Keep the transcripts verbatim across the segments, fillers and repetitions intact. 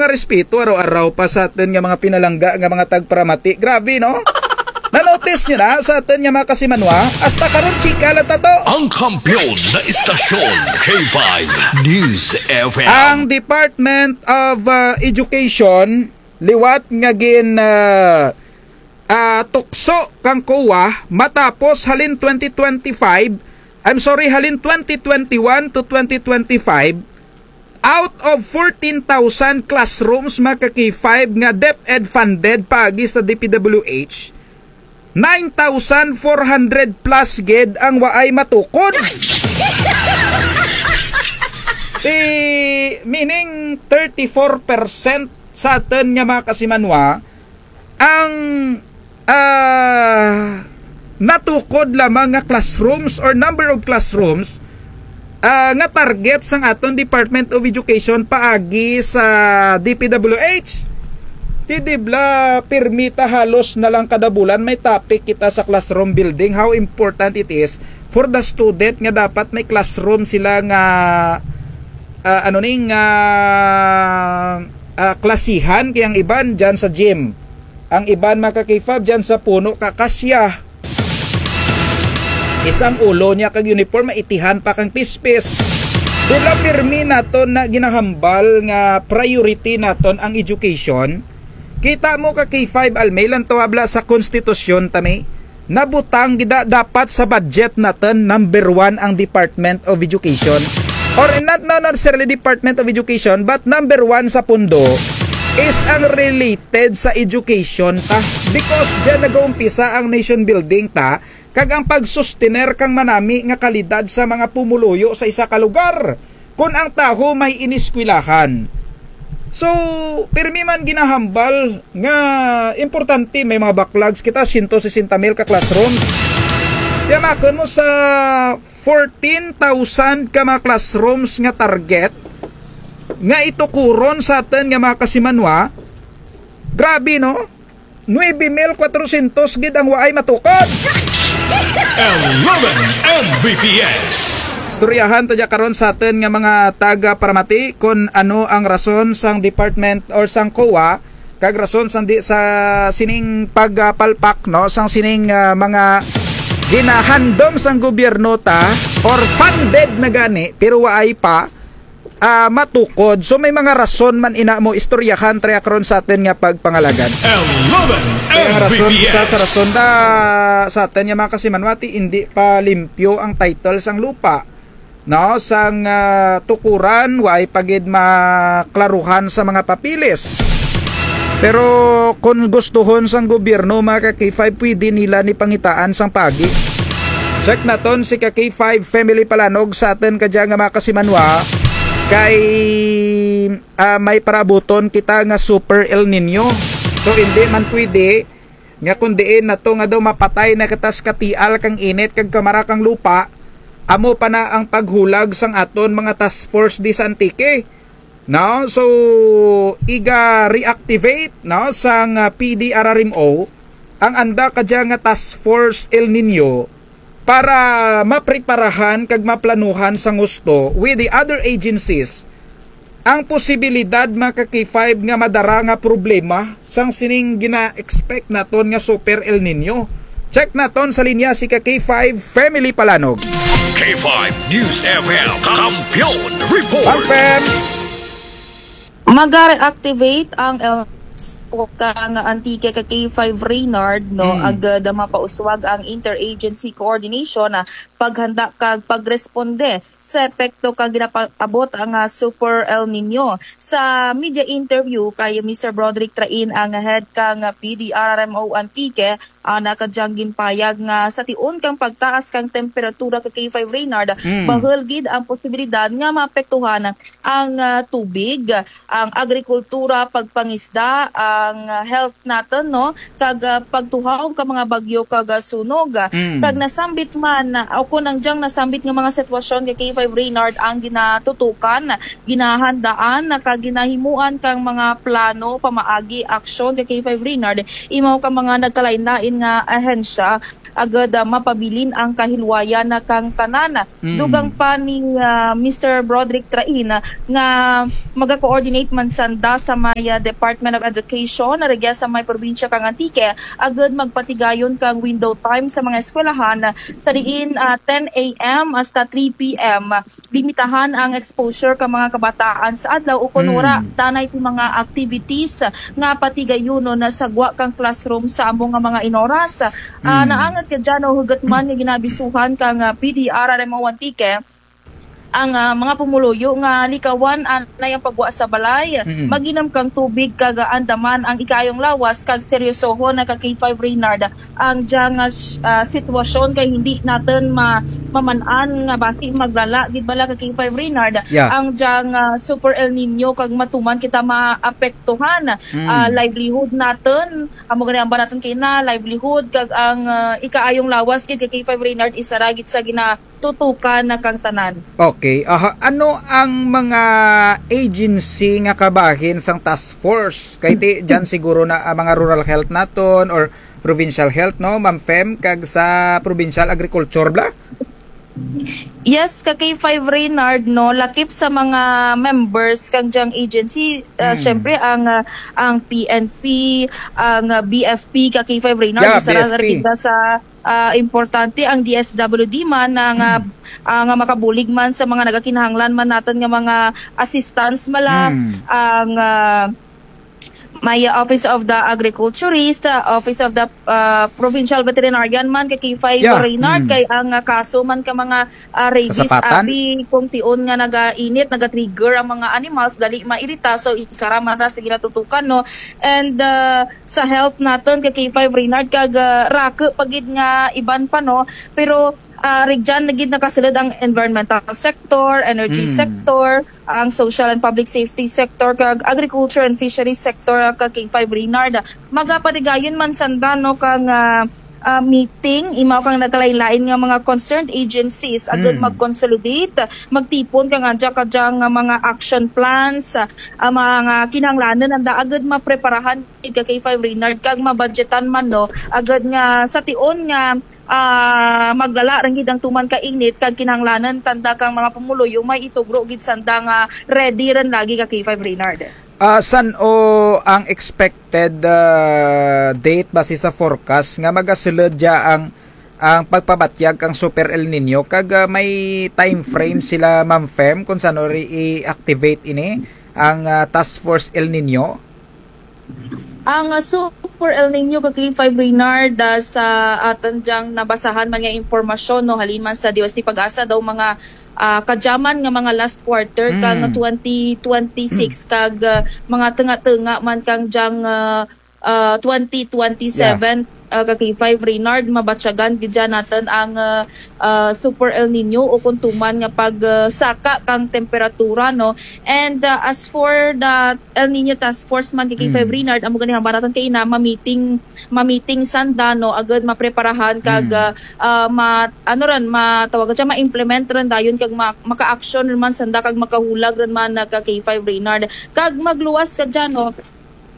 Respeto araw-araw pa sa atun nga mga pinalangga nga mga tagparamati. Grabe, no? Na-notice nyo na sa atun nga mga kasimanwa? Hasta karon chika lang ta to. Ang kampiyon na istasyon, K five News F M. Ang Department of, ah, Education, liwat nga gin, ah, ah, tukso kang COA matapos halin twenty twenty-five, I'm sorry, halin twenty twenty-one to twenty twenty-five, out of fourteen thousand classrooms, mga ka-K five, nga DepEd funded paagi sa D P W H, nine thousand four hundred plus gid ang waay matukod. Ti, meaning thirty-four percent sa atun nga mga kasimanwa ang, ah, natukod lamang nga classrooms or number of classrooms, ah, nga target sang atun Department of Education paagi sa D P W H. Ti di bala pirmi ta halos na lang kada bulan may topic kita sa classroom building, how important it is for the student nga dapat may classroom sila nga, ah, ano ni, nga, ah, klasihan, kay ang iban dyan sa gym. Ang iban, mga ka-K five, dyan sa puno kakasya. Isang ulo niya kag uniform, maitihan pa kang pispis. Di bala pirmi naton nga ginahambal nga priority naton ang education? Kita mo ka-K five, almay lang to, ha, bala sa konstitusyon ta mi, nabutang gid na dapat sa budget naton, number one ang Department of Education. Or not, not necessarily Department of Education, but number one sa pundo is ang related sa education ta. Because dyan nagaumpisa ang nation building ta, kag ang pagsustener kang manami nga kalidad sa mga pumuluyo sa isa ka lugar. Kon ang tawo may ineskwelahan. So, pirmi man ginahambal nga importante may mga backlogs kita, siyento sesenta mil ka classrooms. Ti amakun mo sa fourteen thousand ka mga classrooms nga target nga itukuron sa atun nga mga kasimanwa. Grabe, no? Nuebe mil kwatrosyentos gid ang waay matukod. Eleven M B P S. Istoryahan ta dya karon sa atun nga mga taga-paramati kon ano ang rason sang department or sang COA, kag rason sang di sa sining pagpalpak, no, sang sining, ah, mga ginahandom sang gobyerno ta or funded na gani pero waay pa ah, matukod. So, may mga rason man ina mo istoryahan ta dya karon sa atun nga pagpangalagad. Eleven Kaya ang rason, M B P S. Isa sa rason da, sa atun nga mga kasimanwa ti indi pa limpyo ang title sang lupa. No, sang, ah, tukuran, waay pa gid maklaruhan sa mga papeles. Pero kon gustuhon sang gobyerno, mga ka-K five, pwede nila ni pangitaan sang paagi. Check naton si ka-K five Family Palanog sa atun kadya nga mga kasimanwa, kay, ah, may parabuton kita nga Super El Niño. So, hindi man pwede nga kon diin nato nga daw mapatay na kita sa katial kang init kag kamara kang lupa, amo pa na ang paghulag sang aton mga task force di sa Antique. No? So, iga-reactivate, no, sang, ah, P D R R M O ang anda kadya nga Task Force El Niño para mapreparahan kag maplanuhan sang husto with the other agencies ang posibilidad, mga ka-K five, nga madara nga problema sang sining gina-expect naton nga Super El Niño. Check naton sa linya si ka-K five Family Palanog. K five News F M, Kampiyon Report. Confirm. Maga-reactivate ang El kang Antique ka-K five Reynard, no, agud mapauswag ang interagency coordination, ah, paghanda kag pagresponde sa epekto kang ginapaabot nga Super El Niño. Sa media interview kay Mister Broderick Train, ang head kang P D R R M O Antique, ana kadyang ginpayag nga sa tion kang pagtaas kang temperatura ka-K five Reynard, bahul gid ang posibilidad nga maapektuhan ang, ah, tubig, ang agrikultura, pagpangisda, ang, ah, health natun, no? Kag, ah, pagtuhaw ka mga bagyo kag, ah, sunog. Kag nasambit man, ah, o kon ang dyang nasambit nga mga sitwasyon ka-K five Reynard ang ginatutukan, ginahandaan, kag ginahimuan kang mga plano pamaagi aksyon ka-K five Reynard, imaw ka mga nagkalain-lain nga ahensya agud, ah, mapabilin ang kahilwayan kang tanan. Mm. Dugang pa ni, ah, Mister Broderick Train, ah, nga maga-coordinate man sanda sa may, ah, Department of Education, rugya sa may probinsya kang Antique, agud magpatigayon kang window time sa mga eskwelahan, sa diin, ah, ten A M hasta three P M. Limitahan ang exposure kang mga kabataan sa adlaw ukon wara danay ti mga activities nga patigayunon sa gwa kang classroom sa amo nga mga inoras. Ah, naangat kadya no, hugut man nga ginaabisuhan kang, ah, P D R R M O Antique ang, ah, mga pumuluyo nga likawan anay ang paggwa sa balay, mag-inom kang tubig kag, ah, andaman ang ikaayong lawas kag seryosohon ka K five Reynard ang dyang, ah, s-, ah, sitwasyon kay hindi natun ma-, maman-an nga basi maglala gid bala ka K five Reynard ang dyang, ah, Super El Nino kag matuman kita maapektuhan, ah, livelihood natun, amo gani amba natun kaina livelihood kag ang, ah, ikaayong lawas gid ka K five Reynard isara gid sa ginatutukan na kang tanan. Okay. Aha, ano ang mga agency nga kabahin sang task force? Kay ti dyan siguro na, ah, mga rural health natun or provincial health, no, Ma'am Fem, kag sa provincial agriculture bala? Yes, ka K five Reynard, no, lakip sa mga members kang dyang agency, ah, syempre ang, ah, ang P N P, ang, ah, B F P, ka K five Reynard, isara ra gid sa, ah, importante ang D S W D man nga, ah, nga makabulig man sa mga nagakinahanglan man natun nga mga assistance bala, ang, ah, may Office of the Agriculturist, ah, Office of the, ah, Provincial Veterinarian man ka K five Reynard, kay ang, ah, kaso man ka mga, ah, rabies, abi, kung tion nga nagainit, nagatrigger ang mga animals, dali mairita, so isara man ra sa ginatutukan, no? And, ah, sa health natun ka K five Reynard, kag, ah, raku pa gid nga iban pa, no? Pero, ah, rugyan na gid nakasulud ang environmental sector, energy sector, ang social and public safety sector, kag agriculture and fisheries sector, ah, ka K five Reynard. Magapatigayon man sanda, no, kang, ah, ah, meeting, imaw kang nagkalain-lain nga mga concerned agencies, agud mag-consolidate, magtipon kang adya kadya nga mga action plans, ah, mga kinahanglanun nanda agud mapreparahan gid ka K five Reynard, kag mabudgetan man, no, agud nga sa tion nga ah, maglala run gid ang tuman ka init kag kinahanglanun tanda kang mga pumuluyo may itugro gid sanda nga ready run lagi ka K five Reynard. Ah, san-o ang expected, ah, date basi sa forecast nga magasulud dya ang, ang pagpabatyag kang Super El Nino kag, ah, may time frame sila, Ma'am Fem, kung san-o ri i-activate ini ang, ah, Task Force El Nino? Ang, ah, Super El Nino ka K five Reynard, ah, sa atun dyang nabasahan man nga impormasyon, no, halin man sa D O S T PAGASA daw mga, ah, kadya man nga mga last quarter kang twenty twenty-six kag, ah, mga tunga-tunga man kang dyang, ah, ah, twenty twenty-seven, ah, ka K five Reynard, mabatyagan gid dya natun ang, ah, ah, Super El Nino ukon tuman nga pag, ah, saka kang temperatura, no? And, ah, as for the El Nino Task Force man ka K five Reynard, amo gani hambal natun kaina, ma-meeting, ma-meeting sanda, no, agud mapreparahan kag, ah, ah, ma-, ano run, matawag dya, ma-implement run dayon kag ma-, maka-action run man sanda kag makahulag run man, ah, ka K five Reynard. Kag magluwas kadya, no,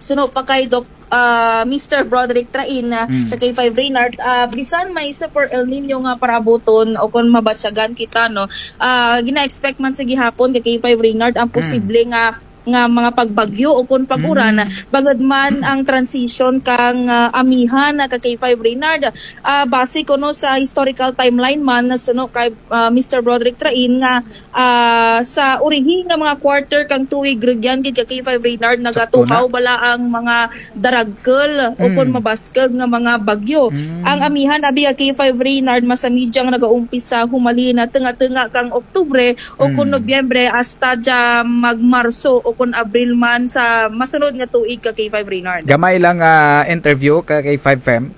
suno pa kay Doc, ah, Mister Broderick Train, ah, ka K five Reynard, ah, bisan may Super El Nino nga paraabuton ukon mabatyagan kita, no, ah, gina-expect man sa gihapon ka K five Reynard ang posible nga nga mga pagbagyo ukon pag-uran, bangud man ang transition kang, ah, amihan, ah, ka K five Reynard. Ah, base kuno sa historical timeline man, suno kay, ah, Mister Broderick Train nga, ah, sa urihi nga mga quarter kang tuig rugyan gid ka K five Reynard, nagatuhaw bala ang mga daragkul ukon mabaskug nga mga bagyo. Ang amihan abi ka K five Reynard, masami dyang nagaumpisa humalin na tunga-tunga kang Oktubre ukon Nobyembre hasta dya mag-Marso ukon Abril man sa masunod nga tuig ka K five Reynard. Gamay lang, ah, interview ka K five Fem.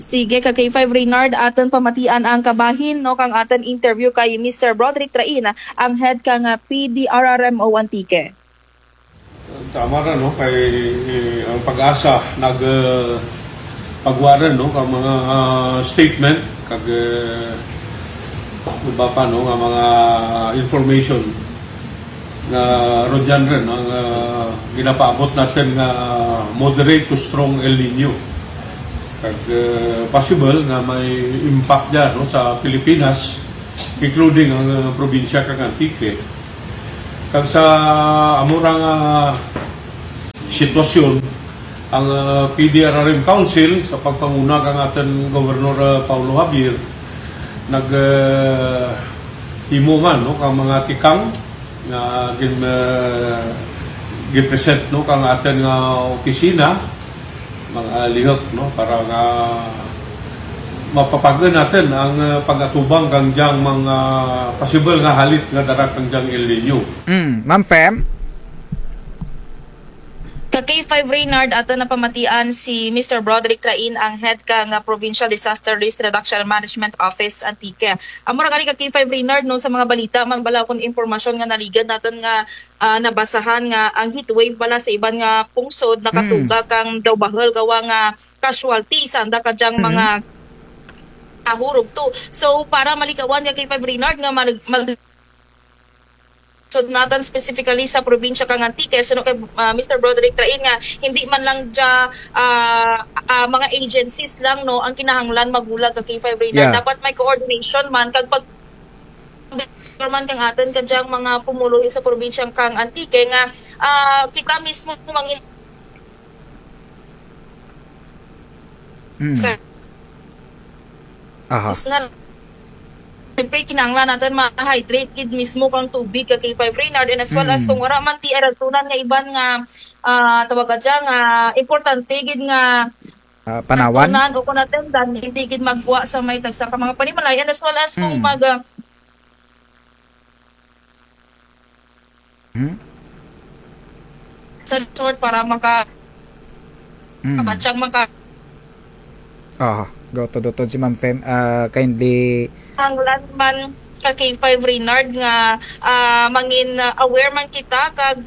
Sige, ka K five Reynard, atun pamatian ang kabahin, no, kang atun interview kay Mister Broderick Train, ang head kang, ah, P D R R M O Antique. Tama ra, no, kay, eh, ang PAGASA nag, eh, pagwa run, no, kang mga, ah, statement kag, eh, iba pa, no, nga mga information nga rugyan run, no, nga ginapaabot natun nga moderate to strong El Nino. Kag, eh, possible nga may impact dya, no, sa Pilipinas, including ang, eh, probinsya kang Antique. Kag sa amo ra nga sitwasyon, ang, eh, P D R R M Council sa pagpanguna kang atun Gobernador, eh, Paolo Javier, nag, eh, himo man, no, kang mga tikang nga gin-, eh, gin-present, no, kang atun nga opisina, mga lihok, no, para nga mapapag-un natun ang, eh, pag-atubang kang dyang mga possible nga halit nga dara kang dyang El Niño. Mm, Ma'am Fem? Ka K five Reynard, atun nga pamatian si Mister Broderick Train, ang head kang, ah, Provincial Disaster Risk Reduction and Management Office Antique. Amo ra gani ka K five Reynard, no, sa mga balita man bala kon impormasyon nga naligad natun nga, ah, nabasahan nga ang heat wave bala sa iban nga pungsod nakatuga kang daw bahul gawa nga casualty sanda kadyang mga nahurog to. So, para malikawan ka K five Reynard nga mag-, mag-, so natun specifically sa probinsya kang Antique, suno kay, ah, Mister Broderick Train nga hindi man lang dya, ah, ah, mga agencies lang, no, ang kinahanglan maghulag ka K five Reynard. Yeah. Dapat may coordination man kag pag man kang atun kadyang mga pumuluyo sa probinsya kang Antique nga, ah, kita mismo mangin- Mm. Aha. Is nga, siyempre, kinahanglan natun ma-hydrate gid mismo kang tubig ka K five Reynard, and as well as kung wara man ti arantunan nga iban nga, ah, tawag ka dya nga importante gid nga, ah, panawan, arantunan o kon atendan, hindi gid magwa sa may tagsa ka mga panimalay, and as well as kung mag, ah, Hmm? Sa resort para maka-, hmm, makapatsang maka- Aha, gautod-utod si Ma'am Fem, ah, kindly. Kinahanglan man ka K five Reynard nga, ah, mangin, ah, aware man kita kag,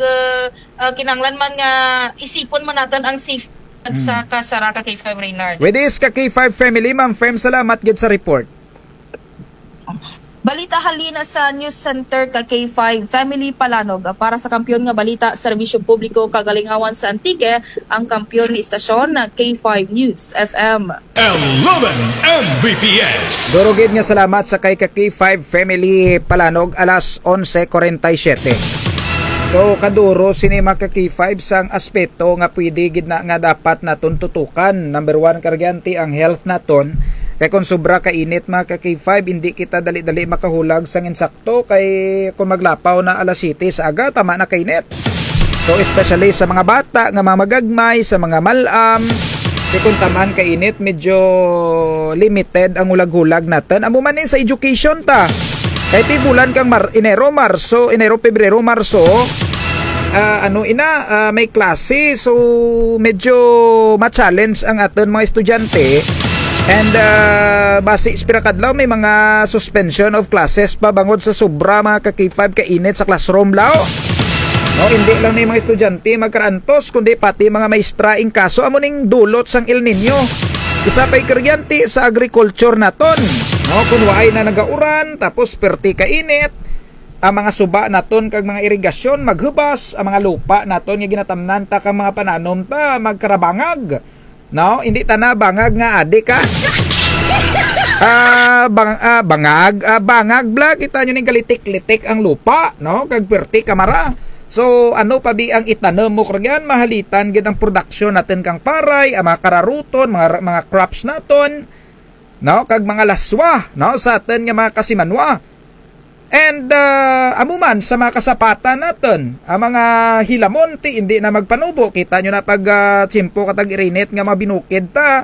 ah, kinahanglan man nga isipon man natun ang safety sa kasara ka K five Reynard. With this ka K five family, Ma'am Fem, salamat gid sa report. Balita halin sa News Center ka K five Family Palanog. Para sa kampiyon nga balita, serbisyo publiko kag alingawan sa Antique, ang kampiyon nga istasyon na K five News F M. Eleven M B P S. Duro gid nga salamat sa kay ka K five Family Palanog, alas onse cuarenta y siete. So, kaduro sini mga ka K five sang aspeto nga pwede gid na nga dapat natun tutukan. Number one, karyente, ang health natun. Kay kon sobra ka init, mga ka K five, indi kita dali-dali makahulag sang insakto, kay kon maglapaw na alas siyete sa aga, tama na ka init. So, especially sa mga bata nga mga magagmay, sa mga mal-am, kay kon tama ka init, medyo limited ang hulag-hulag natun. Amo man ni sa education ta. Kay ti bulan kang Mar-, Enero, Marso, Enero, Pebrero, Marso, ah, ano ina, ah, may klase. So, medyo ma-challenge ang atun mga estudyante. And, ah, basi sa pira ka adlaw may mga suspension of classes pa bangod sa sobra, mga ka K five, ka init sa classroom, law. No, hindi lang ni mga estudyante magkaraantos, kundi pati mga maestra, in kaso amo ning dulot sang El Niño. Isa pa'y karyente sa agriculture natun. No, kun waay na nagauran, tapos perte ka init, ang mga suba natun kag mga irigasyon maghubas, ang mga lupa natun nga ginatamnan ta kang mga pananom ta magkarabangag. No, hindi tana bangag nga adik, ha. Ah, bang-, ah, bangag, ah, bangag bala, kita nyo ning kalitik-litik ang lupa, no, kag perte ka mara. So, ano pa bi ang itanum mo, kuryan, mahalitan gid ang production natun kang paray, ang mga kararuton, mga, mga crops natun, no, kag mga laswa, no, sa atun nga mga kasimanwa. And, ah, amo man sa mga kasapatan natun, ang mga hilamon ti indi na magpanubo. Kita nyo na pag, ah, tiyempo ka tag-irinit nga mga binukid ta,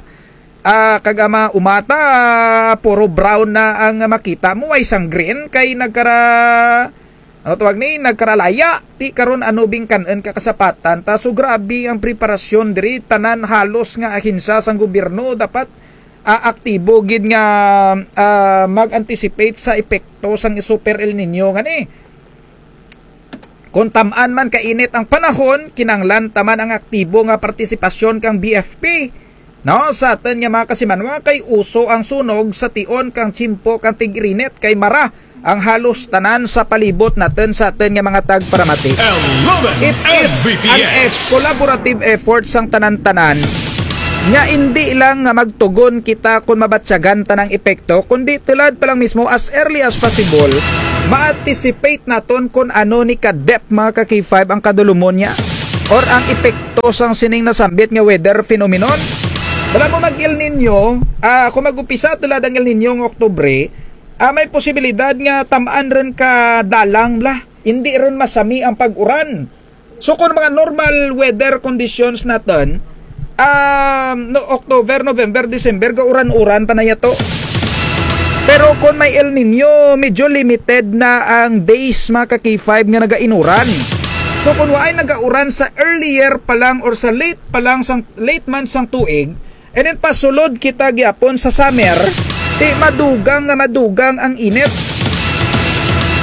ah, kag ang mga umata, ah, puro brown na ang makita mo, ay sang green kay nagkara-, ano tawag ni, nagkaralaya. Ti karon ano bi ang kan-un ka kasapatan ta? So grabe ang preparasyon diri, tanan halos nga ahensya sang gobyerno dapat ah, aktibo gid nga, ah, mag-anticipate sa epekto sang Super El Niño ngani. Kon tam-an man kainit ang panahon, kinanglan ta man ang aktibo nga partisipasyon kang B F P, no, sa atun nga mga kasimanwa, kay uso ang sunog sa tion kang tiyempo kang tig-irinit kay mara ang halos tanan sa palibot natun sa atun nga mga tagparamati. It is an eff-, collaborative effort sang tanan-tanan. Nga indi lang nga magtugon kita kon mabatyagan ta na ang epekto, kundi tulad pa lang mismo, as early as possible, ma-anticipate naton kon ano ni ka-depth, mga ka-K five, ang kadulumon niya or ang epekto sang sining nasambit nga weather phenomenon. Bala mo mag-El Niño, ah, kon mag-umpisa tulad ang El Niño nga Oktubre, ah, may posibilidad nga tam-an run ka dalang bala. Indi run masami ang pag-uran. So, kon mga normal weather conditions natun, um, no, October, November, December, gauran-uran pa na yato. Pero kon may El Niño, medyo limited na ang days, mga ka-K five, nga nagainuran. So, kon waay nagauran sa earlier pa lang or sa late pa lang sang, late months sang tuig, and then pasulod kita gihapon sa summer, ti madugang nga madugang ang init.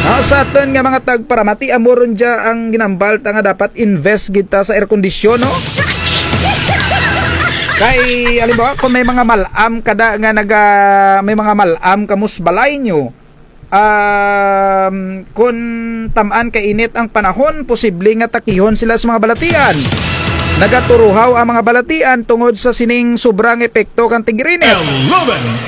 Ah, sa atun nga mga tagparamati, amo run dya ang ginhambal ta nga dapat invest gid ta sa air condition, no? Kay, halimbawa, kon may mga mal-am kada nga naga-, may mga mal-am kamo sa balay nyo, um, kon tam-an kainit ang panahon, posible nga takihon sila sa mga balatian. Nagaturuhaw ang mga balatian tungod sa sining sobrang epekto kang tig-init.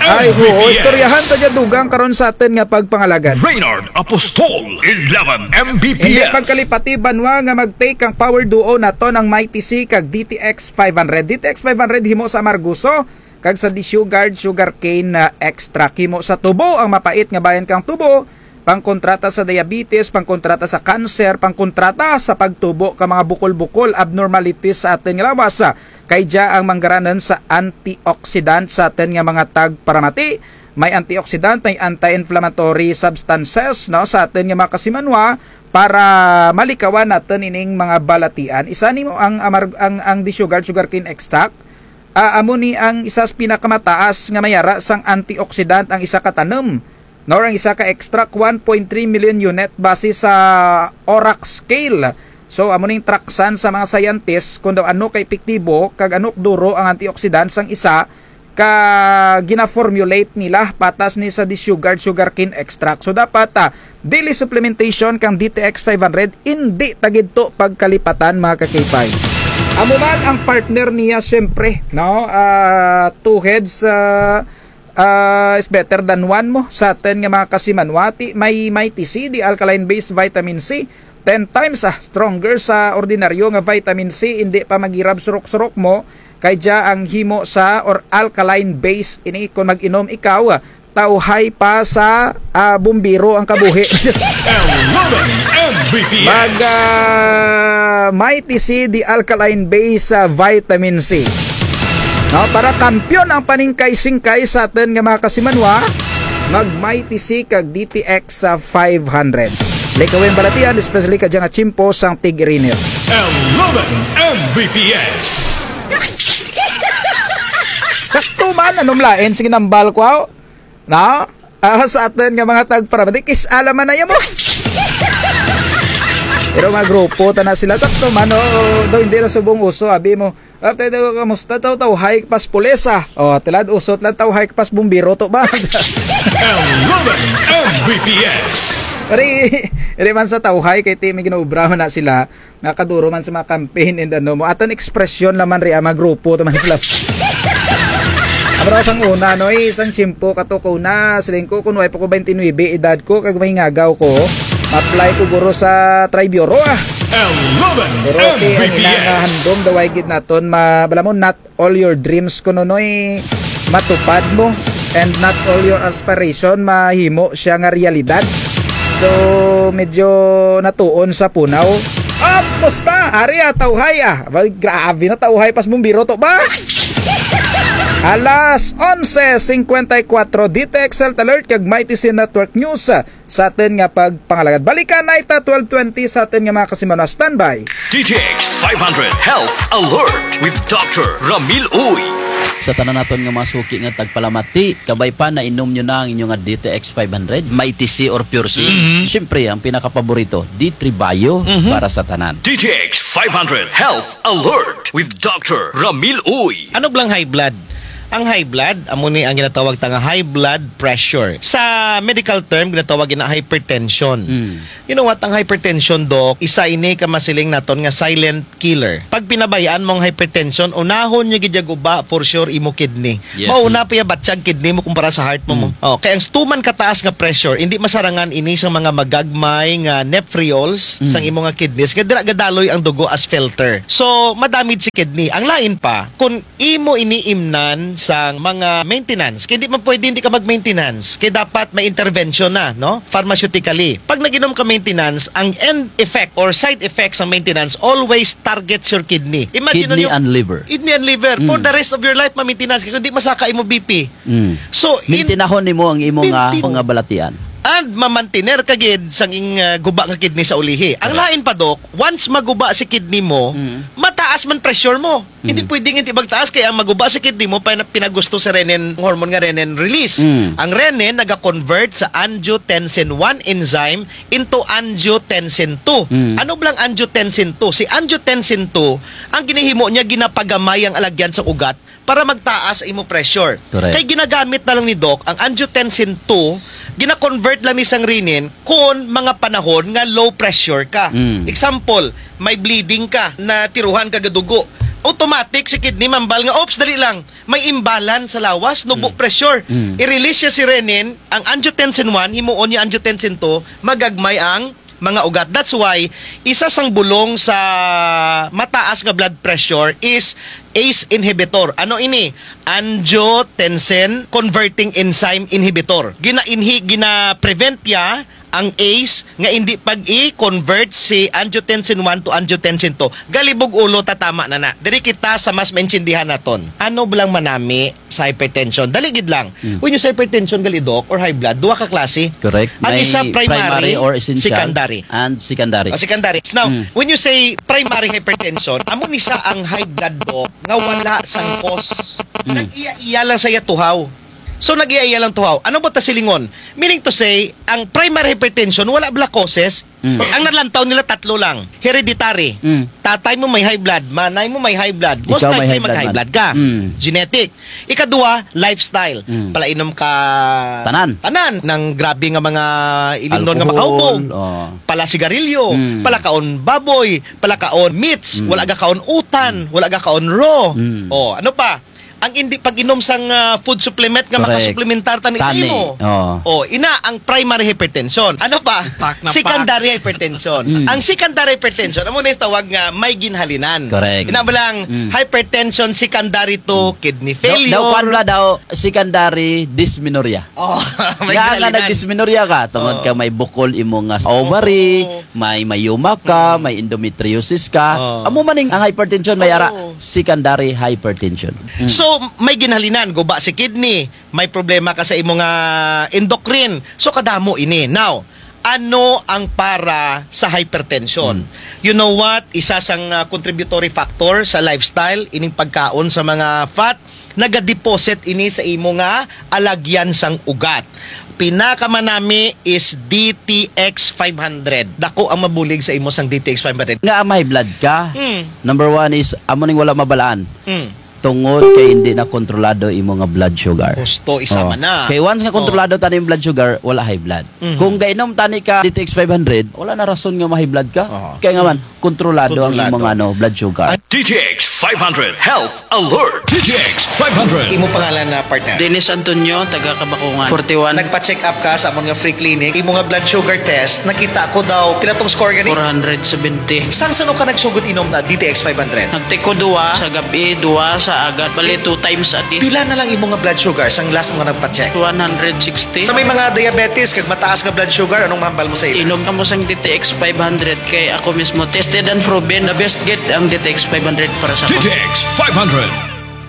Ay, oo, istoryahan ta dya dugang karon sa atun nga pagpangalagad. Reynard Apostol, eleven M B P S. Indi pagkalipati banwa nga mag-take ang power duo natun ang Mighty C kag D T X five hundred. D T X five hundred himo sa amargoso kag sa desugared sugarcane, ah, extract. Himo sa tubo ang mapait nga bahin kang tubo, pangkontra ta sa diabetes, pangkontra ta sa cancer, pangkontra ta sa pagtubo ka mga bukol-bukol, abnormalities sa atun nga lawas. Kay dya ang manggaranun sa antioxidant sa atun nga mga tagparamati. May antioxidant, may anti-inflammatory substances, no, sa atun nga mga kasimanwa para malikawan natun ining mga balatian. Isa nimo ang amar-, ang, ang desugared sugarcane extract. Ah, amo ni ang isa sa pinakamataas nga may ara sang antioxidant ang isa ka tanum, nor ang isa ka extract, one point three million unit base sa ORAC scale. So, amo ning traksan sa mga scientist kon daw ano ka epektibo kag ano kaduro ang antioxidant sang isa ka gina-formulate nila patas ni sa desugared sugarcane extract. So, dapat, ah, daily supplementation kang D T X five hundred, indi ta gid to pagkalipatan, mga ka-K five. Amo man ang partner niya, siyempre, no? Ah, two heads, ah, ah, is better than one mo. Sa atun nga mga kasimanwa, ti may Mighty C, the alkaline base vitamin C. Ten times, ah, stronger sa ordinaryo nga vitamin C, indi pa maghirab surok-surok mo, kay dya ang himo sa or alkaline base ini kon mag-inom ikaw, ah, tawhay pa sa, ah, bumbiro ang kabuhi. Eleven M B P S. Mag, ah, Mighty C, the alkaline base, ah, vitamin C. No, para kampiyon ang paningkay-singkay sa atun nga mga kasimanwa, mag Mighty C kag D T X sa five hundred. Likawi ang balatian, especially kadya nga tiyempo sang tig-init. Eleven M B P S. Sakto man, ano man lain, sige nambal ko, aw. Na? Ah, sa atun nga mga tagparamati, kis-a la man na ya mo. Pero mga grupo tana sila, sakto man, o, daw indi na subong uso, abi mo. Ah, tayo, tayo, kamusta taw, tawhay ka pa sa pulis, ah? O, tulad uso, tulad tawhay ka pa sa bumbiro, to ba? Eleven M B P S. Ari, ari man sa tawhay, kay ti may ginaobra man na sila. Nga kaduro man sa mga campaign and ano mo. Atun ekspresyon la man ria, mga grupo tana man sila. Amo ra sang una, no, eh, sang tiyempo kato ko una, siling ko, kon way pa ko baynte nuwebe edad ko, kag may ngagaw ko, ma-apply ko guro sa Triburo, ah. Eleven Pero ti ang M B P S. Ina nga handom daw ay gid natun ma-, bala mo, not all your dreams kuno, Noy, matupad mo, and not all your aspiration mahimo siya nga realidad. So, medyo natuon sa punaw. Ah, musta? Ari, ah, tawhay, ah. Abay, grabe na tawhay pa sa bumbiro to ba? Alas onse singkwenta y kwatro, D T X Health Alert kag Mighty C Network News. Sa atun nga pagpangalagad. Balikan na ta twelve twenty sa atun nga mga kasimanwa. Standby. D T X five hundred Health Alert with Doctor Ramil Uy. Sa tanan natun nga mga suki nga tagpalamati, kabay pa nainom nyo na ang inyo nga D T X five hundred, Mighty C or Pure C. Mhm. Siyempre, ang pinakapaborito, D three Bio Mhm. para sa tanan. D T X five hundred Health Alert with Doctor Ramil Uy. Ano bala ang high blood? Ang high blood, amo ni ang ginatawag ta nga high blood pressure. Sa medical term, ginatawag ina hypertension. Mm. You know what, ang hypertension, Doc, isa ini ka masiling naton nga silent killer. Pag pinabayaan mo ang hypertension, unahon niya gid ya guba, for sure, imo kidney. Yes. Mauna pa ya batsyag kidney mo kumpara sa heart mo, mo. Mm. Oh, kay ang tuman kataas nga pressure, hindi masarangan ini sa mga magagmay nga nephriols Mm. sang imo nga kidneys, nga dira gadaloy ang dugo as filter. So, madamage si kidney. Ang lain pa, kung imo ini imnan sang mga maintenance. Kay di man pwede hindi ka mag-maintenance. Kay dapat may intervention na, no? Pharmaceutically. Pag nag-inom ka maintenance, ang end effect or side effect sa maintenance always targets your kidney. Imagine Kidney nyo, and liver. Kidney and liver. For Mm. the rest of your life, mamitenance ka. Kung di masaka imo B P. Mm. So, in- Mintinahon nimo ang imo nga Mintin- mga balatian. And mamantener ka gid sang ing, ah, guba nga kidney sa ulihi. Ang Correct. Lain pa, Doc, once maguba si kidney mo, Mm. mataas man pressure mo. Hindi Mm. pwedeng hindi magtaas, kay ang maguba si kidney mo, pina-, pinagusto si renin, hormone nga renin release. Mm. Ang renin naga-convert sa angiotensin one enzyme into angiotensin two. Mm. Ano bala ang angiotensin two? Si angiotensin two, ang ginahimo niya, ginapagamay ang alagyan sa ugat para magtaas imo pressure. Correct. Kay ginagamit na lang ni Doc ang angiotensin two, gina-convert lang ni sang renin kon mga panahon nga low pressure ka. Mm. Example, may bleeding ka, natiruhan ka gadugo. Automatic si kidney mambal nga, "Oops, dali lang. May imbalance sa lawas, nubo Mm. pressure." Mm. I-release siya si renin, ang angiotensin one, himuon niya angiotensin two, magagmay ang mga ugat. That's why, isa sang bulong sa mataas nga blood pressure is ace inhibitor. Ano ini? Angiotensin converting enzyme inhibitor. Gina-inhi-, gina-prevent ya ang ace nga hindi pag-i-convert si angiotensin one to angiotensin two. Galibog ulo, tatama na na. Diri kita sa mas maintindihan naton. Ano bala ang manami sa hypertension? Dali gid lang. Mm. When you say hypertension, gali, Doc, or high blood, duha ka klase. Correct. Ang May isa primary, primary or essential secondary. And secondary. Ah, secondary. Now, Mm. when you say primary hypertension, amo ni sa ang high blood, Doc, nga wala sang cause. Mm. Nag-iya-iya lang sa iya tuhaw. So, nag-iya-iya lang tuhaw. Ano ba ta silingon? Meaning to say, ang primary hypertension, wala bala causes. Mm. Ang nalantaw nila tatlo lang. Hereditary. Mm. Tatay mo may high blood, manay mo may high blood. Most Ikaw may likely high blood mag-high man. Blood ka. Mm. Genetic. Ikaduha, lifestyle. Mm. Palainom ka Tanan. Tanan. Nang grabe nga mga ilimnon nga Alcohol, makahubog. Oh. Pala sigarilyo, Mm. palakaon baboy, palakaon meats, Mm. Wala ga kaon utan, wala ga kaon raw. Mm. Oh, ano pa? Ang hindi pag-inom sang, ah, food supplement nga Correct. Makasuplementar tani sa Tani. Imo. Oh. Oh, ina ang primary hypertension. Ano pa? Secondary hypertension. Mm. Ang secondary hypertension, amo ni tawag nga may ginhalinan. Correct. Ina bala ang Mm. hypertension secondary to kidney Daw, failure. Daw, kuwan bala daw, secondary dysmenorrhea. Oh, may Nga nga ginhalinan. Nag-dysmenorrhea ka, tungod Oh. Ka may bukol imo nga ovary, Oo. May myoma ka, May endometriosis ka. Oh. Amo man ning ang hypertension, may ara Oo. Secondary hypertension. Mm. So, may ginhalinan, guba si kidney, may problema ka sa imo nga endocrine. So, kadamo ini. Now, ano ang para sa hypertension? Mm. You know what? Isa sang, ah, contributory factor sa lifestyle, ining pagkaon sa mga fat, nagadeposit ini sa imo nga alagyan sang ugat. Pinakamanami is D T X five hundred. Dako ang mabulig sa imo sang D T X five hundred. Nga may blood ka. Mm. Number one is, amo ning wala mabalaan. Mm. Tungod kay hindi na kontrolado imo nga blood sugar. Gusto, isa Oh. man na. Kay once nga Oh. kontrolado tani yung blood sugar, wala high blood. Mhm. Kung gainom tani ka D T X five hundred, wala na rason nga ma-high blood ka. Oo. Kaya nga man, kontrolado ang Kontrolado. imong ano, blood sugar. Ang D T X five hundred Health Alert. D T X five hundred. Imo pangalan na partner? Dennis Antonio, taga Kabakungan. Forty-one. Nagpa-check up ka sa amon nga free clinic. Imo nga blood sugar test, nakita ko daw, pila tong score gani? Four hundred seventy. Sang san-o ka nagsugod inom na D T X five hundred? Nagtake ko duwa sa gab-i, duwa sa agahon. Bali, two times a day. Pila na lang imo nga blood sugar sang last mo nga nagpa-check? One hundred sixty. Sa may mga diabetes kag mataas nga blood sugar, anong mahambal mo sa ila? Inom kamo sang D T X five hundred kay ako mismo tested and proven, the best gid ang D T X five hundred para sa ako. D T X five hundred.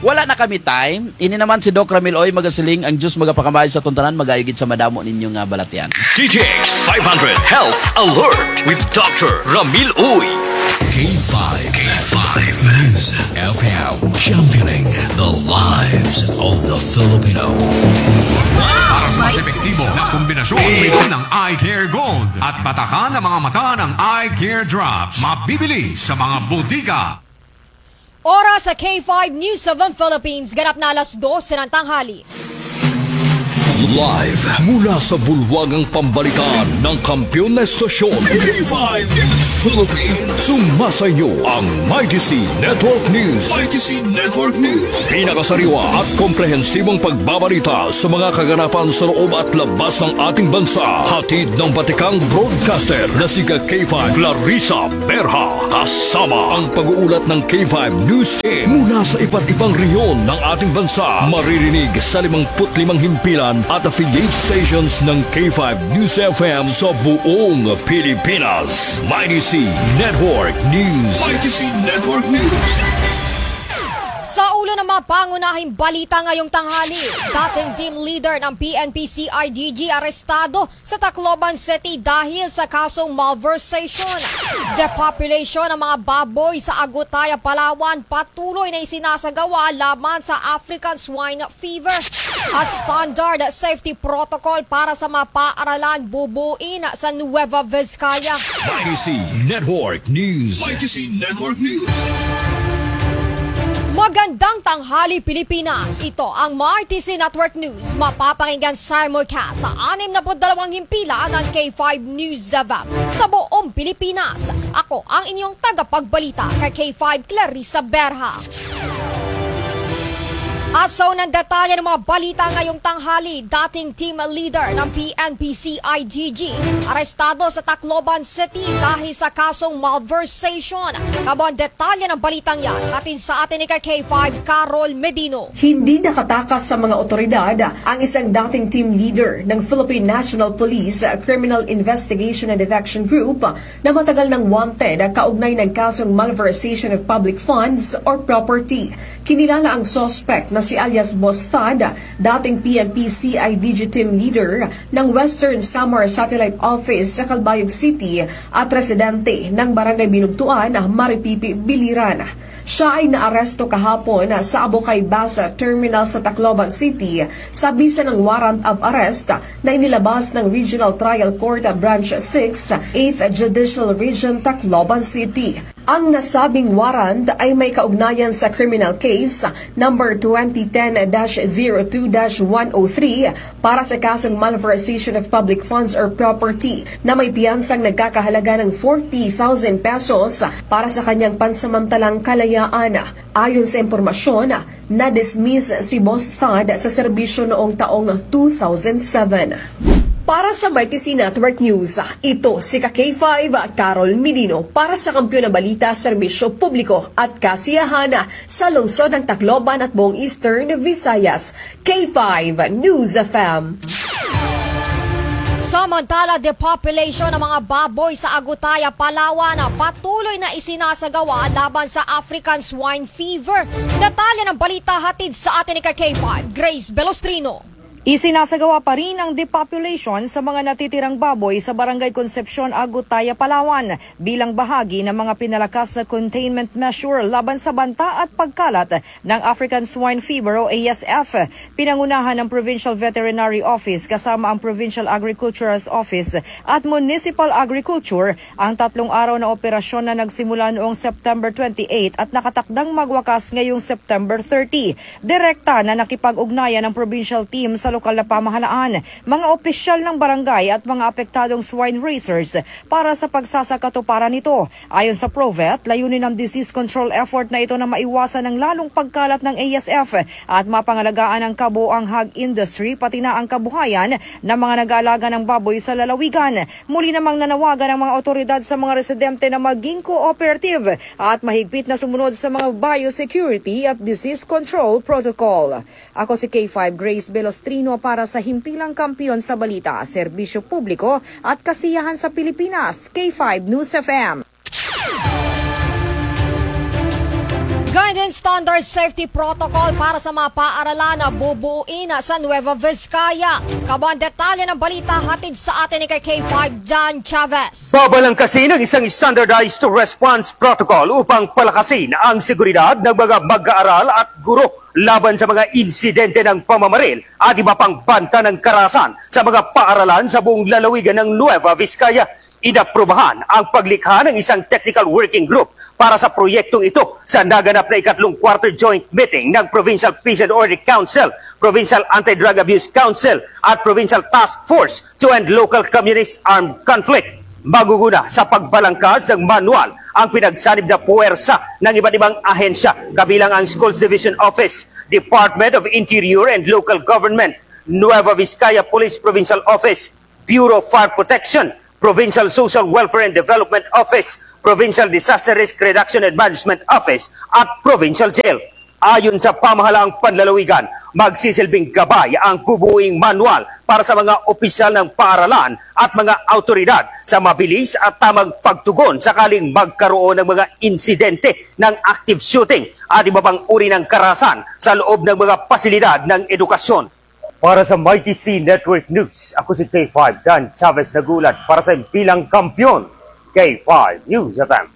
Wala na kami time. Ini naman si Doc Ramil Uy, magasiling, ang Diyos magapakamay sa aton tanan, mag-ayo gid sa madamo ninyo nga balatian. D T X five hundred Health Alert with Doctor Ramil Uy. K five, K five News F M, championing the lives of the Filipino. Para sa mas epektibo na kombinasyon, uminom ng Eye Care Gold at batakan ang mga mata ng Eye Care Drops. Mabibili sa mga botika. Oras Sa K five News seven Philippines, ganap na alas dose ng tanghali. Live mula sa bulwagang pambalitaan ng kampiyon na estasyon, K five News Philippines. Sumasa inyo ang Mighty C Network News. Mighty C Network News. Pinakasariwa at komprehensibong pagbabalita sa mga kaganapan sa loob at labas ng ating bansa. Hatid ng batikang broadcaster na si K five Clarissa Berha. Kasama ang pag-uulat ng K five News Team mula sa iba't ibang rehiyon ng ating bansa. Maririnig sa limangput limang himpilan at affiliate stations ng K five News F M sa buong Pilipinas. Mighty C Network News. Mighty C Network News. Sa ulo ng mga pangunahing balita ngayong tanghali, dating team leader ng P N P C I D G arestado sa Tacloban City dahil sa kasong malversation. Depopulation ng mga baboy sa Agutaya, Palawan, patuloy na isinasagawa laban sa African Swine Fever. At standard safety protocol para sa mga paaralan bubuin sa Nueva Vizcaya. Mighty C Network News. Mighty C Network News. Magandang tanghali, Pilipinas. Ito ang Mighty C Network News. Mapapakinggan simulcast sa anim na put dalawang himpilan ng K five News F M sa buong Pilipinas. Ako ang inyong tagapagbalita, kay K five Clarissa Berha. At sa unang detalye ng mga balita ngayong tanghali, dating team leader ng P N P C I D G arestado sa Tacloban City dahil sa kasong malversation. Kabuang detalye ng balitang yan, hatid sa atin ni K five Carol Medino. Hindi nakatakas sa mga otoridad ang isang dating team leader ng Philippine National Police Criminal Investigation and Detection Group na matagal nang wanted kaugnay ng kasong malversation of public funds or property. Kinilala ang suspect na si alias Boss Thad, dating P N P C I D G team leader ng Western Samar Satellite Office sa Calbayog City at residente ng Barangay Binugtuan, Maripipi, Biliran. Siya ay naaresto kahapon sa Abukay Bus Terminal sa Tacloban City sa bisa ng warrant of arrest na inilabas ng Regional Trial Court Branch six, eighth Judicial Region, Tacloban City. Ang nasabing warrant ay may kaugnayan sa criminal case number twenty ten dash zero two dash one oh three para sa kasong malversation of public funds or property na may piyansang nagkakahalaga ng forty thousand pesos para sa kanyang pansamantalang kalayaan. Ayon sa impormasyon, na-dismiss si Boss Thad sa serbisyo noong taong two thousand seven. Para sa Mighty C Network News, ito si ka K five, Carol Medino, para sa Kampiyon na Balita, Serbisyo Publiko at Kasiyahan sa lungsod ng Tacloban at buong Eastern Visayas. K five News F M. Samantala, depopulation ng mga baboy sa Agutaya, Palawan, patuloy na isinasagawa laban sa African Swine Fever. Detalye ng balita hatid sa atin ni ka K five, Grace Belostrino. Isinasagawa pa rin ang depopulation sa mga natitirang baboy sa Barangay Concepcion, Agutaya, Palawan, bilang bahagi ng mga pinalakas na containment measure laban sa banta at pagkalat ng African Swine Fever o A S F. Pinangunahan ng Provincial Veterinary Office kasama ang Provincial Agriculture's Office at Municipal Agriculture ang tatlong araw na operasyon na nagsimula noong September twenty-eight at nakatakdang magwakas ngayong September thirty. Direkta na nakipag-ugnayan ang provincial team sa lokal na pamahalaan, mga opisyal ng barangay at mga apektadong swine raisers para sa pagsasakatuparan nito. Ayon sa Provet, layunin ng disease control effort na ito na maiwasan ang lalong pagkalat ng A S F at mapangalagaan ang kabuoang hog industry, pati na ang kabuhayan ng mga nag-aalaga ng baboy sa lalawigan. Muli namang nanawagan ang mga awtoridad sa mga residente na maging cooperative at mahigpit na sumunod sa mga biosecurity at disease control protocol. Ako si K five Grace Belostrino para sa Himpilang Kampiyon sa Balita, Serbisyo Publiko at Kasiyahan sa Pilipinas, K five News F M. Gayon din standard safety protocol para sa mga paaralan na bubuin sa Nueva Vizcaya. Kabuang detalye ng balita hatid sa atin ni ka K five Dan Chavez. Babalangkasin ang isang standardized response protocol upang palakasin ang seguridad ng mga mag-aaral at guro laban sa mga insidente ng pamamaril at iba pang banta ng karahasan sa mga paaralan sa buong lalawigan ng Nueva Vizcaya. Inaprubahan ang paglikha ng isang technical working group para sa proyektong ito sa naganap na ikatlong quarter joint meeting ng Provincial Peace and Order Council, Provincial Anti-Drug Abuse Council at Provincial Task Force to End Local Communist Armed Conflict. Maguguna sa pagbalangkas ng manual ang pinagsanib na puwersa ng iba't ibang ahensya, kabilang ang Schools Division Office, Department of Interior and Local Government, Nueva Vizcaya Police Provincial Office, Bureau of Fire Protection, Provincial Social Welfare and Development Office, Provincial Disaster Risk Reduction and Management Office, at Provincial Jail. Ayon sa pamahalaang panlalawigan, magsisilbing gabay ang bubuing manual para sa mga opisyal ng paaralan at mga awtoridad sa mabilis at tamang pagtugon sakaling magkaroon ng mga insidente ng active shooting at iba pang uri ng karahasan sa loob ng mga pasilidad ng edukasyon. Para sa Mighty C Network News, ako si K five Dan Chavez nag-uulat para sa impilang kampiyon, K five News F M.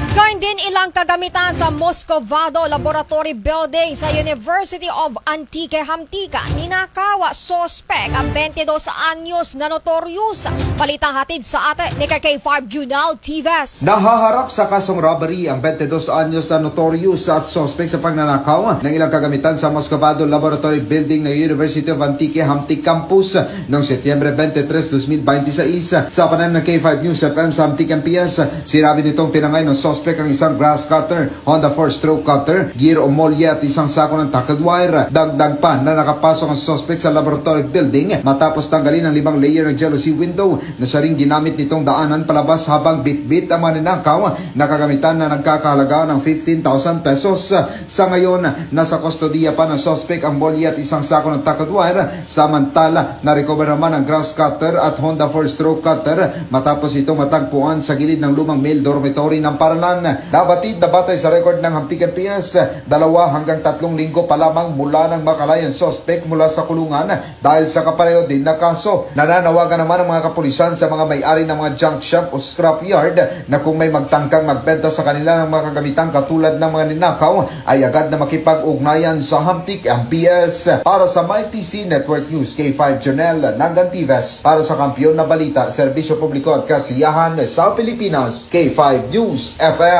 Gayon din ilang kagamitan sa Moscovado Laboratory Building sa University of Antique Hamtica, ninakaw sa suspek ang twenty-dos anyos na notorious. Balita hatid sa atin ni K five Junel Tives. Nahaharap sa kasong robbery ang twenty-dos anyos na notorious at suspek sa pagnanakaw ng ilang kagamitan sa Moscovado Laboratory Building ng University of Antique Hamtic Campus noong Setyembre twenty-tres, dos mil binte y seis. Sa panayam ng K five News F M sa Hamtic M P S, sinabi nitong tinangay ng suspek ang isang grass cutter, Honda four-stroke cutter, gear o molye at isang sako ng tackle wire. Dagdag pa na nakapasok ang suspek sa laboratory building matapos tanggalin ang limang layer ng jalousie window na siya ring ginamit nitong daanan palabas habang bitbit ang mga ninakaw na kagamitan na nagkakahalaga ng fifteen thousand pesos. Sa ngayon, nasa kustodiya pa ng suspek ang molye at isang sako ng tackle wire, samantala na-recover naman ang grass cutter at Honda four-stroke cutter matapos itong matagpuan sa gilid ng lumang male dormitory ng paaralan. Nabatid na batay sa record ng Hamtic M P S, dalawa hanggang tatlong linggo pa lamang mula nang makalaya ang suspek mula sa kulungan dahil sa kapareho din na kaso. Nananawagan naman ang mga kapulisan sa mga may-ari ng mga junk shop o scrap yard na kung may magtangkang magbenta sa kanila ng mga kagamitang katulad ng mga ninakaw, ay agad na makipag-ugnayan sa Hamtic M P S. Para sa Mighty C Network News, K five Junel Nangantives. Para sa Kampiyon na Balita, Serbisyo Publiko at Kasiyahan sa Pilipinas, K five News F M.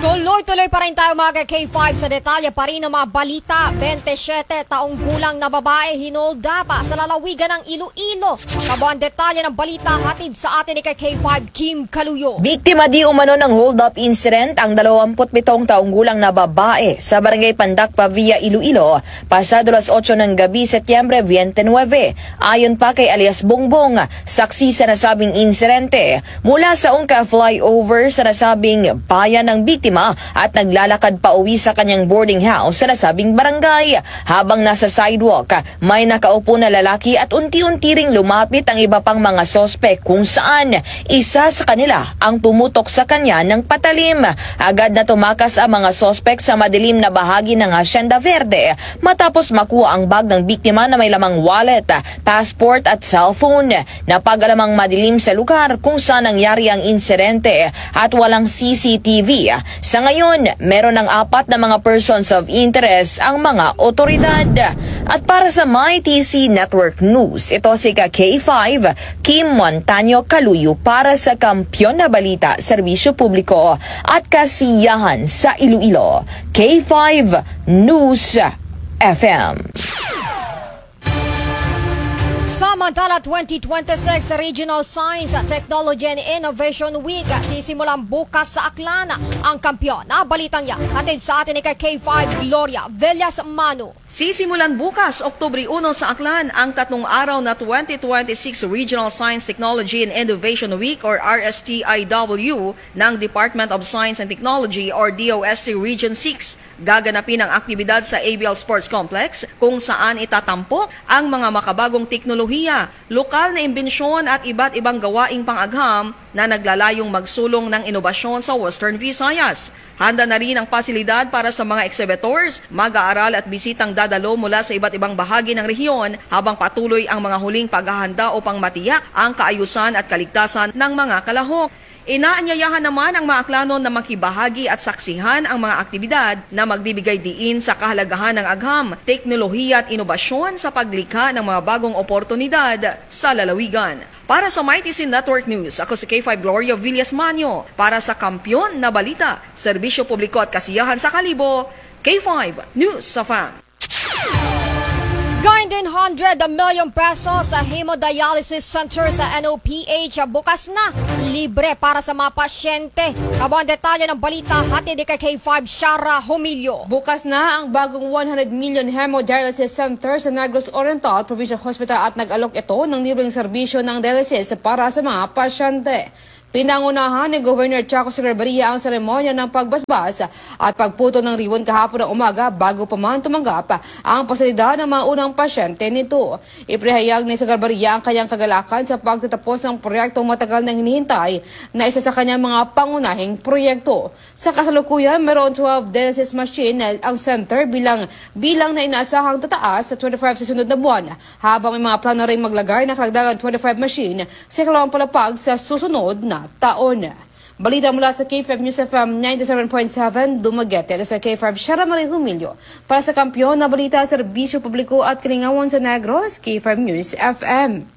Tuloy-tuloy pa rin tayo, mga K five, sa detalye pa rin ng mga balita. Bente siyete taong gulang na babae hinold up sa lalawigan ng Iloilo. Kabuang detalye ng balita hatid sa atin ni K five Kim Kaluyo. Biktima di umano ng hold-up incident ang dalawampu't pitong taong gulang na babae sa Barangay Pandak, Pavia, Iloilo, pasado alas otso ng gabi, Setyembre twenty-nine. Ayon pa kay alias Bongbong, saksi sa nasabing insidente, mula sa ungka flyover sa nasabing bayan ang biktima at naglalakad pauwi sa kanyang boarding house sa nasabing barangay. Habang nasa sidewalk, may nakaupo na lalaki at unti-unti ring lumapit ang iba pang mga suspek kung saan isa sa kanila ang pumutok sa kanya ng patalim. Agad na tumakas ang mga suspek sa madilim na bahagi ng Hacienda Verde matapos makuha ang bag ng biktima na may lamang wallet, passport at cellphone. Napag-alamang madilim sa lugar kung saan nangyari ang insidente at walang C C T V. Sa ngayon, meron ng apat na mga persons of interest ang mga otoridad. At para sa Mighty C Network News, ito si ka K five, Kim Montaño Kaluyo para sa Kampiyon na Balita, Serbisyo Publiko at Kasiyahan sa Iloilo, K five News F M. Samantala, twenty twenty-six Regional Science, Technology and Innovation Week, sisimulan bukas sa Aklan. Ang kampiyon na balitang yan, hatid sa atin ni ka K five Gloria Villas Manu. Sisimulan bukas, Oktubre uno, sa Aklan ang tatlong araw na twenty twenty-six Regional Science, Technology and Innovation Week or R S T I W ng Department of Science and Technology or D O S T Region six. Gaganapin ang aktibidad sa A B L Sports Complex, kung saan itatampok ang mga makabagong teknolohiya, lokal na imbensyon at iba't ibang gawaing pang-agham na naglalayong magsulong ng inobasyon sa Western Visayas. Handa na rin ang pasilidad para sa mga exhibitors, mag-aaral at bisitang dadalo mula sa iba't ibang bahagi ng rehiyon, habang patuloy ang mga huling paghahanda upang matiyak ang kaayusan at kaligtasan ng mga kalahok. Inaanyayahan naman ang mga Aklanon na makibahagi at saksihan ang mga aktibidad na magbibigay diin sa kahalagahan ng agham, teknolohiya at inobasyon sa paglikha ng mga bagong oportunidad sa lalawigan. Para sa Mighty C Network News, ako si K five Gloria Villasmanio. Para sa Kampiyon na Balita, Serbisyo Publiko at Kasiyahan sa Kalibo, K five News F M. Gain din hundred million pesos sa hemodialysis center sa N O P H, bukas na, libre para sa mga pasyente. Amo ang detalye ng balita, hatid ni K five Shara Humilio. Bukas na ang bagong one hundred million hemodialysis center sa Negros Oriental Provincial Hospital at nag-alok ito ng libreng serbisyo ng dialysis para sa mga pasyente. Pinangunahan ni Governor Chaco Echegarria ang seremonya ng pagbasbas at pagputol ng ribbon kahapon ng umaga bago pa man tumanggap ang pasilidad ng mga unang pasyente nito. Ipinahayag ni Echegarria ang kanyang kagalakan sa pagtatapos ng proyektong matagal nang hinihintay na isa sa kanyang mga pangunahing proyekto. Sa kasalukuyan, mayroon twelve dialysis machine na ang center bilang, bilang na inaasahang tataas sa twenty-five sa sunod na buwan, habang may mga plano ring maglagay ng karagdagang twenty-five machine sa ikalawang palapag sa susunod na taon. Balita mula sa K five News F M ninety-seven point seven Dumaguete, sa K five Shara Marie Humilio. Para sa Kampiyon na Balita, Serbisyo Publiko at Kalingawan sa Negros, K five News F M.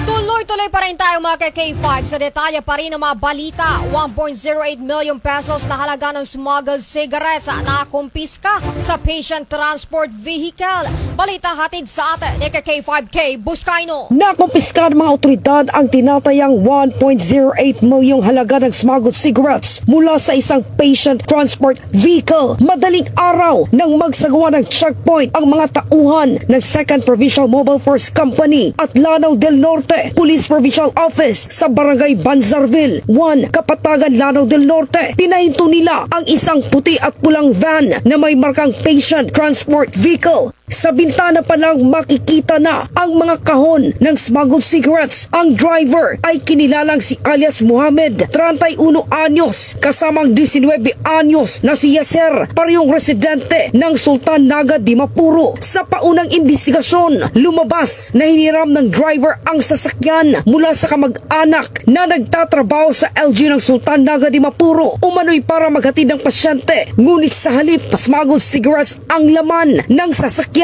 Tuloy-tuloy pa rin tayo, mga ka-K five, sa detalye pa rin ng mga balita. One point zero eight million pesos na halaga ng smuggled cigarettes na nakumpiska sa patient transport vehicle. Balita hatid sa atin ni ka-K five Kay Buscaino. Nakumpiska ng mga awtoridad ang tinatayang one point zero eight milyong halaga ng smuggled cigarettes mula sa isang patient transport vehicle madaling araw nang magsagawa ng checkpoint ang mga tauhan ng Second Provincial Mobile Force Company at Lanao del Norte Police Provincial Office sa Barangay Banzarville one, Kapatagan, Lanao del Norte. Pinahinto nila ang isang puti at pulang van na may markang Patient Transport Vehicle. Sa bintana pa lang makikita na ang mga kahon ng smuggled cigarettes. Ang driver ay kinilalang si alias Mohamed, treinta y uno anyos, kasama ang disinuybe anyos na si Yasser, parehong residente ng Sultan Naga de Mapuro. Sa paunang imbestigasyon, lumabas na hiniram ng driver ang sasakyan mula sa kamag-anak na nagtatrabaho sa L G U ng Sultan Naga de Mapuro, umano'y para maghatid ng pasyente. Ngunit sa halip, smuggled cigarettes ang laman ng sasakyan.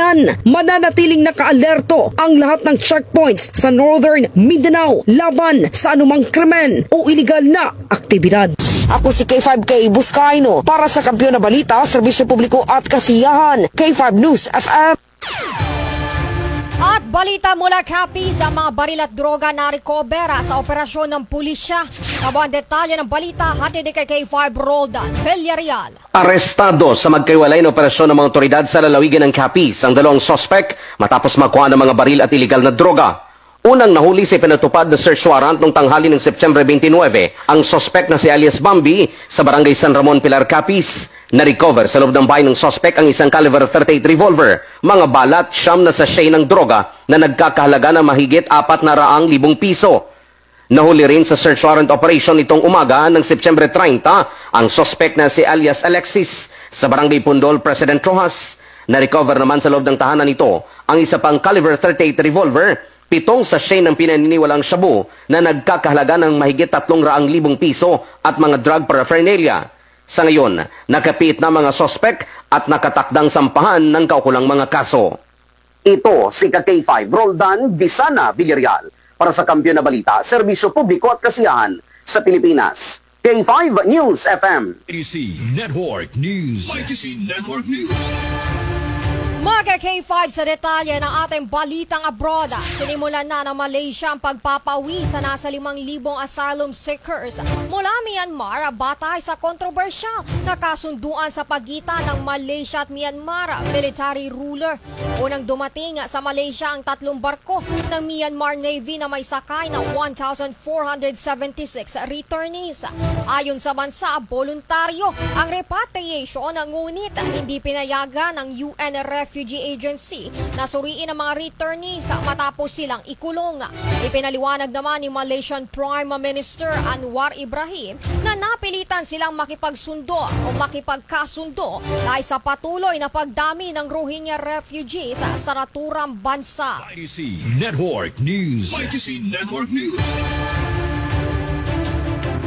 Mananatiling nakaalerto ang lahat ng checkpoints sa Northern Mindanao laban sa anumang krimen o iligal na aktibidad. Ako si K five Kay Buscaino para sa Kampiyon na Balita, Serbisyo Publiko at Kasiyahan, K five News F M. At balita mula Capiz, ang mga baril at droga na-recover sa operasyon ng pulisya. Amo ang detalye ng balita, hatid ni ka-K five Roldan Villarreal. Arestado sa magkahiwalay na operasyon ng mga awtoridad sa lalawigan ng Capiz ang dalawang suspek matapos makuha ng mga baril at iligal na droga. Unang nahuli sa ipinatupad na search warrant noong tanghali ng September twenty-nine, ang suspek na si alias Bambi sa Barangay San Ramon, Pilar, Capiz. Na-recover sa loob ng bahay ng suspek ang isang caliber thirty-eight revolver, mga bala at siyam na sachet ng droga na nagkakahalaga ng mahigit apat na raang libong piso. Nahuli rin sa search warrant operation nitong umaga ng September treinta ang suspek na si alias Alexis sa Barangay Pundol, President Roxas. Na-recover naman sa loob ng tahanan nito ang isa pang caliber thirty-eight revolver, pitong sachet ng pinaniniwalaang shabu na nagkakahalaga ng mahigit tatlong raang libong piso at mga drug paraphernalia. Sa ngayon, nakapiit na mga suspek at nakatakdang sampahan ng kaukulang mga kaso. Ito si ka-K five Roldan Bisana Villarreal para sa Kampiyon na Balita, Serbisyo Publiko at Kasiyahan sa Pilipinas, K five News F M. Mighty C Network News. Mighty C Network News. Mga ka-K five, sa detalye ng ating balitang abroad, sinimulan na ng Malaysia ang pagpapauwi sa nasa limang libong asylum seekers mula Myanmar batay sa kontrobersyal na kasunduan sa pagitan ng Malaysia at Myanmar military ruler. Unang dumating sa Malaysia ang tatlong barko ng Myanmar Navy na may sakay na one thousand four hundred seventy-six returnees. Ayon sa bansa, boluntaryo ang repatriation, ngunit hindi pinayagan ng U N Refugee Agency na suriin ang mga returnees matapos silang ikulong. Ipinaliwanag naman ni Malaysian Prime Minister Anwar Ibrahim na napilitan silang makipagsundo o makipagkasundo dahil sa patuloy na pagdami ng Rohingya refugees sa naturang bansa. Mighty C Network News. Mighty C Network News.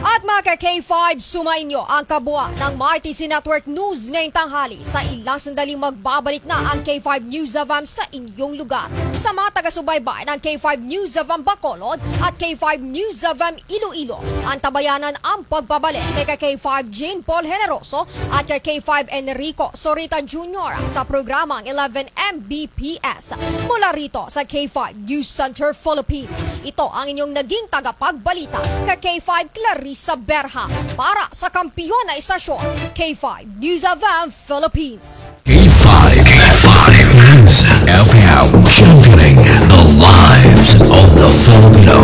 At Mga ka-K five, sumainyo ang kabuuan ng Martesi Network News ngayong tanghali. Sa ilang sandaling magbabalik na ang K five News F M sa inyong lugar. Sa mga taga-subaybay ng K five News F M Bacolod at K five News F M Iloilo, antabayanan ang pagbabalik kay ka-K five Jean Paul Generoso at kay K five Enrico Sorita Junior sa programang eleven M B P S. Mula rito sa K five News Center Philippines, ito ang inyong naging tagapagbalita, ka-K five Clarissa Berha, para sa kampiyon na istasyon, K five News F M Philippines. K five, K five News F M, championing the lives of the Filipino.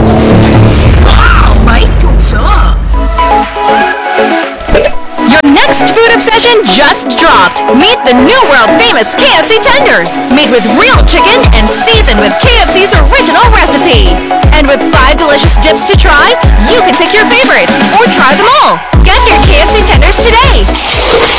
Wow, may puso! Your next food obsession just dropped. Meet the new world famous K F C tenders, made with real chicken and seasoned with K F C's original recipe. And with five delicious dips to try, you can pick your favorite or try them all. Get your K F C tenders today.